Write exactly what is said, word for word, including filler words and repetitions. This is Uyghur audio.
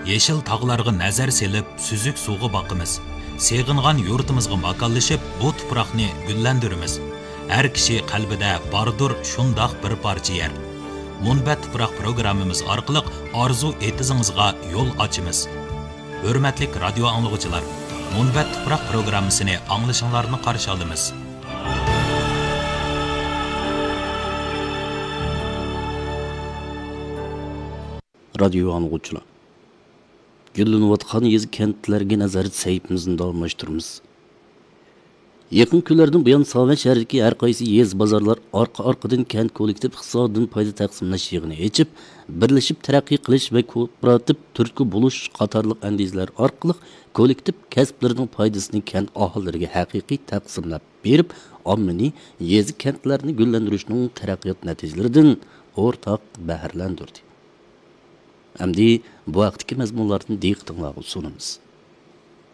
يېشىل تاغلارغا نەزەر سېلىپ، سۈزۈك سۇغا باقىمىز. سېغىنغان يۇرتىمىزغا ماكانلىشىپ، بۇ تۇپراقنى گۈللەندۈرىمىز. ھەر كىشى قەلبىدە باردۇر شۇنداق بىر پارچە يەر. مۇنبەت تۇپراق پروگراممىمىز ئارقىلىق ئارزۇ ئېتىزىڭىزغا يول ئاچىمىز. ھۆرمەتلىك رادىيو ئاڭلىغۇچىلار، مۇنبەت تۇپراق پروگراممىسىنى ئاڭلىشىڭلارنى قارشى ئالىمىز. رادىيو ئاڭلىغۇچىلار، گۈللىنىۋاتقان يېزا كەنتلەرگە نەزەر سەھىپىمىزنى داۋاملاشتۇرىمىز. يېقىنقى كۈنلەردىن بۇيان ساۋەن شەھىرىدىكى ھەر قايسى يېزا بازارلار ئارقا-ئارقىدىن كەنت كوللېكتىپ ئىقتىسادىدىن پايدا تەقسىملەش يىغىنى ئېچىپ، بىرلىشىپ تەرەققىي قىلىش ۋە كوپىراتىپ تۈرتكە بولۇش قاتارلىق ئەندىزىلەر ئارقىلىق كوللېكتىپ كەسىپلىرىنىڭ پايدىسىنى كەنت ئاھالىلىرىگە ھەقىقىي تەقسىملەپ بېرىپ، ئاممىنى يېزا كەنتلەرنى گۈللەندۈرۈشنىڭ تەرەققىيات نەتىجىلىرىدىن ئورتاق بەھرىلەندۈردى. ئەمدى بۇ ھەقتىكى مەزمۇنلارنى دىققىتىڭلارغا سۇنىمىز.